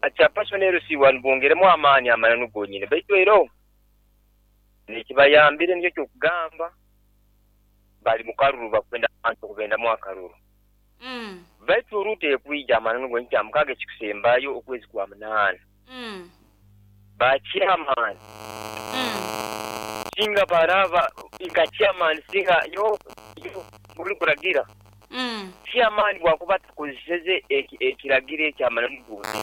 Ba chairperson LC1 bongeremu amaani amananu gonyini baitu eroho nekibayambire nikyo kyokugamba bali mukaruru bakwenda abantu okubendamu akaruru. Baitu Ruto ekwija amananu gonyini kyamukaaga ekikusembayo okwezi kwa munaana. Ba chairman singa baraba nka chairman singa nyowe buri kuragira chairman bwakuba atakozeseze ekiragiro ekyo amananu gonyini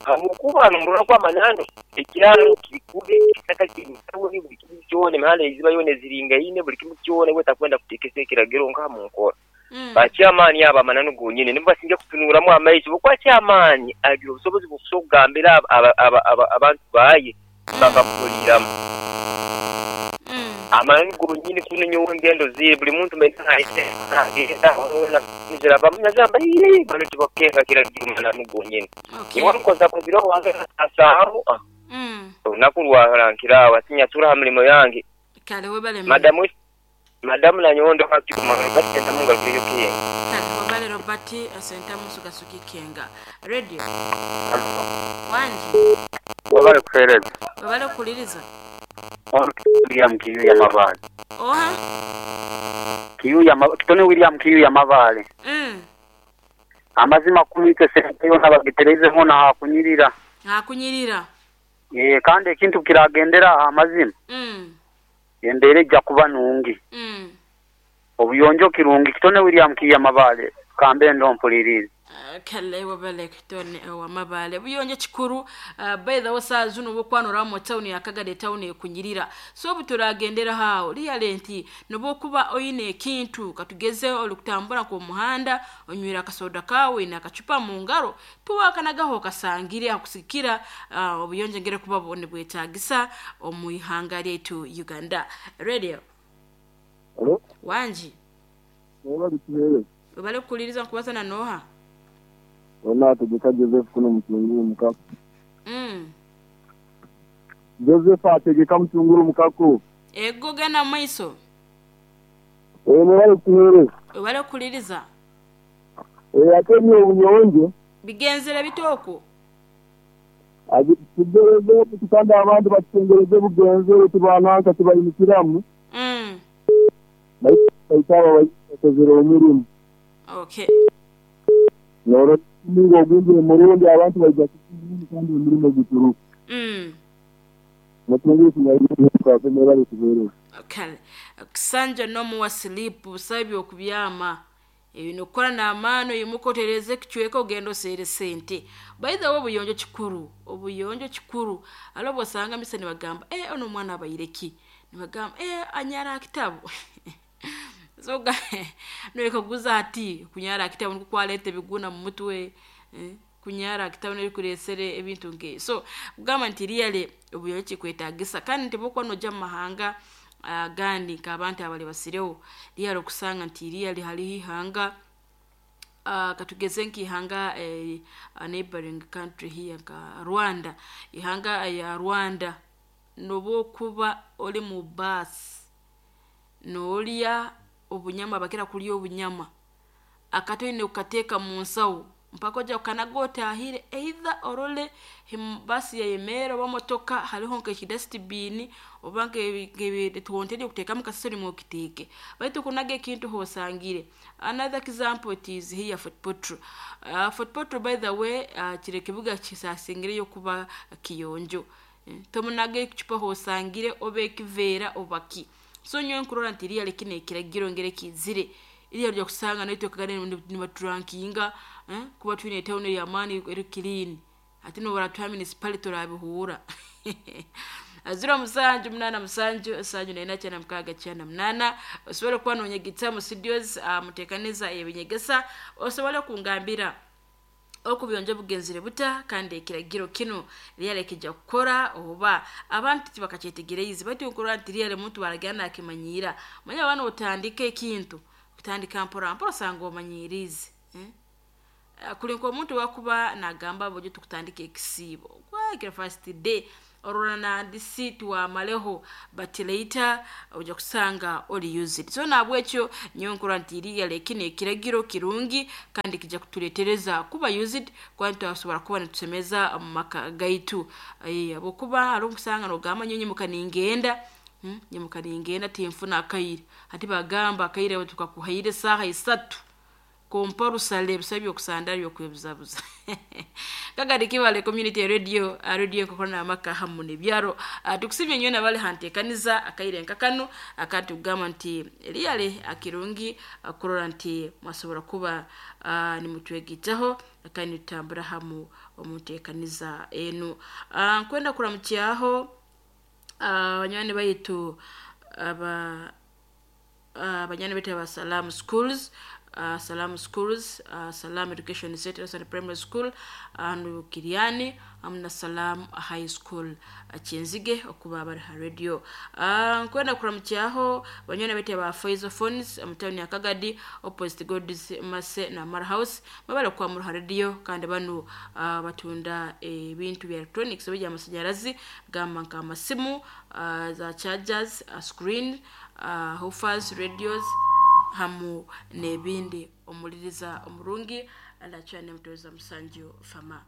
habwokuba nomurora ngu amananu ekyaro kiri kubi ekisaka kiri mutawuni buli kimu kyona emihanda eiziba yona eziringaine buli kimu kyona iwe takwenda kutekesa ekiragiro nka munkora. Ba chairman abo amananu gonyini nibo basinga kutunuramu amaiso habwokuba chairman agira obusobozi bw'okusobola okugambira abantu baye bakamuhuriramu. Amananu gonyini kunu nyowe engendo ziri buli muntu nagenda nizirabamu nagamba ii banu tibakukenga kiragiro mananu gonyini. Nyowe nkoza kuziroho wange nasaaho olunaku rwarankiraho hati nyatura ha mirimo yange. Kale webale muno. Madamu Madamu Nanyondo Kakikuma Robert Sentamu Ngarukireyo Kienga. Kale webale Robert Sentamu Sugasugi Kienga. Radio. Wangi. Webale kuhereza. Webale kukuliriza. Ono Kitone William Kiyuya Mabale. Oha? Kiyuya Kitone William Kiyuya Mabale. Amazima kunu itwe sente yona bagitereize hona hakunyirira. Hakunyirira. Eeh kandi ekintu bukiragendera aha amazima, embeera eija kuba nungi. Obuyonjo kirungi. Kitone William Kiiya Mabale, kambe ndo mpuliriize. Kale webale Kitone owa Mabale. Obuyonjo kikuru. By the way saaha zinu obwokuba noraba mu tawuni ya Kagadi etawuni ekunyirira. So obuturagenderaho aho really nti nobwokuba oine ekintu katugeze orikutambura nk'omu muhanda onywire akasoda kaawe oine akacupa mungaro tiwakanagaho okasangire hakusigikira obuyonjo engeri kuba nibwetagisa omu ihanga lyaitu Uganda. Radio. Halo. Wangi. Webale kuhereza. Webale kukuliriza nkubaza na noha? Ono Ategeka Joseph kuno Mutunguru Mukako. Joseph Ategeka Mutunguru Mukako. Ego genda mumaiso. Eeh mwebale kutuhereza. Webale kukuliriza. Eeh ate nyowe obuyonjo. Bigenzere bita okwo? Tugereze kandi abandi batutengereze bugenzere tibananka tibaimukiramu. Baitu abo bakozire omurimo. Okay. Norora omuringo ogundi omurungi abantu baija kusiima kandi omurimo guturuka. Kale Kisanja n'omuwa silipu busabe by'okubyama ebyo nokukora n'amaani oimuke otereeze ekicweka ogende oseere sente. By the way obuyonjo kikuru, obuyonjo kikuru. Hariho obwosanga misa nibagamba ee onu omwana abaire ki? Nibagamba ee anyara aha kitabu. So noyekaguza hati kunyara aha kitabu nikwo kwaleeta ebiguna mu mutwe, kunyara aha kitabu nikwo kureesere ebintu nk'ebyo. So kugamba nti really obuyonjo kikwetagisa kandi nti obwokuba noija omu mahanga agandi nk'abantu abali basireho, really okusanga nti really hariho ihanga katugeze nk'ihanga neighboring country here nka Rwanda, ihanga ya Rwanda n'obwokuba ori mu baasi noorya obunyama bakira kurya obunyama, akati oine kukateeka mu nsaho mpaka oija kukanaga otahire either orole baasi yayemeera oba motoka hariho nk'ekidasitibiini oba nk'ebitonteri eby'okuteekamu kasasiro nimwo okiteeke. Baitu kunaga ekintu h'osangire. Another example it is here Fort Portal. Fort Portal by the way kiri ekibuga kisasingireyo kuba kiyonjo. Tomunaga ekicupa h'osangire oba ekiveera oba ki. So nyowe nkurora nti really kinu ekiragiro engeri kiizire, really oija kusanga naitwe Kagadi nibaturankinga kuba twine etawuni ey'amaani eri clean. Hati n'obu baratuha municipality orabihuura. 0787 74 98 osobole kuba nonyegesa mu studios muteekaniza ebinyegesa osobole kungambira oku obuyonjo bugenzere buta kandi ekiragiro kinu really kija kukora oba abantu tibakakyetegereize baitu nkurora nti really omuntu bwaragira nakimanyiira. Omanyire oba notandika ekintu, kutandika mpora mpora osanga omanyiiriize. Kuri nk'omuntu owakuba nagamba bulijo tukutandika ekisiibo, first day Orora nandisi tiwamaleho, but later ojja kusanga oli used. So nabwekyo nyowe nkurora nti really kinu ekiragiro kirungi kandi kijja kutuletereza kuba used, kuba twasobora kuba nitusemeza omu maka gaitu. Habwokuba hariho okusanga nogamba, nyowe nyimuka ningenda, nyimuka ningenda, tinfuna akaire. Hati bagamba akaire tukakuhaire saaha 3, compulsory ebisa byokusandara byokwebuzabuza. Kagadi Kibale Community Radio, radio ekokora n'amaka hamu n'ebyaro. Tukusimye nyowe nabali hanteekaniza akaire nka kanu, akandi tukugamba nti really akirungi kurora nti mwasobora kuba nimutwegitaho kandi nitutambura hamu omu nteekaniza enu. Nkwenda kuramukyaho abanywani baitu aba abanywani baitu aba Salam Schools, Salam Schools, Salam Education Center and Primary School hanu Kiriani, hamu na Salam High School Kyenzige, okuba bari ha radio. Nkwenda kuramukyaho banywani baitu aba Faizo Phones mu town ya Kagadi, opposite God's Mercy na Mara House, babale kwamura ha radio. Kandi banu batunda ebintu bya electronics eby'amasanyarazi, gamba nka amasimu, za chargers, screen, woofers, radios hamu n'ebindi. Omuliriza omurungi alacane mutoza Musanju Fama.